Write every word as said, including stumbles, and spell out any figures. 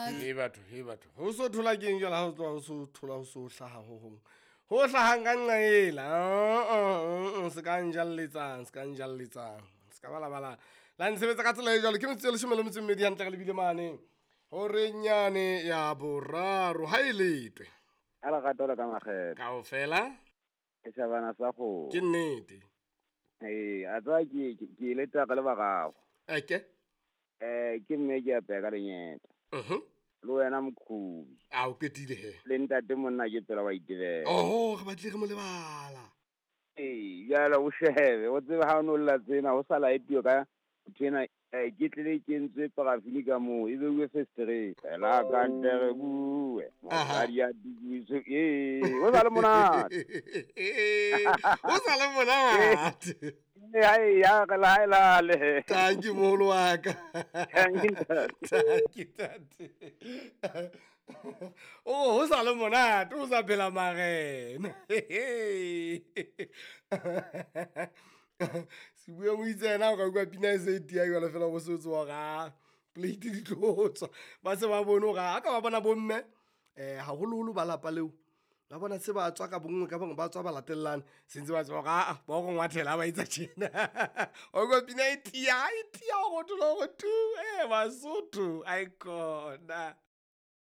He batho, he batho. Ho so thola keng jwale ha o tloha ho so thola ho so hlaha ho hong. Ho hlahang ka nqa ela. Se ka njalletsang, se ka njalletsang. Se ka balabala. La ntshebetsa ka tsela e jwalo. Ke metsotso e leshome le metso e mmedi hantle re lebile mane. Horeng yane ya boraro ha e letwe. A lerato le ka makgethe. Kaofela. Setjhabana sa kgomo. Ke nnete. Ee, a tseba ke ke ile taka le bararo. Eke. Eh, ke mme ke apeya ka lenyeta. Mhm. Le wena mokhubi. A o qetile he. Le ntate monna ke tsela wa itebela. Oh, re batlile re mo lebala. Ee, jwale o shebe, o tsebe ha o no lla tsena ho sa laetuwe ka nthwena eh, ke tlile ke entswe parafini ka moo e beuwe fesetereng. Fela ka ntle re bue. Mosadi a dubiswe, ee, ho sa le monate. Ho sa le monate. Ee, ha e ya re la ha e lale. Thank you moholo wa ka. Thank you, ntate. Thank you, ntate. Oh, ho sa le monate, o sa phela marena. Sebue mo itse yena o ka utlwa pina e se e tia jwalo fela bo se o tseba hore ah, plate di tlo tswa. Ba se ba bone hore ha ka ba bona bomme eh haholoholo ba lapa leo. Ba bona se ba tswa ka bonngwe ka bongwe ba tswa ba latellane. Se ntse ba tseba hore ah, ba o ngwathela ha ba etsa tjena. Wa utlwa pina e tia, e tia hore o thole hore tu, eh Basotho, aikhona.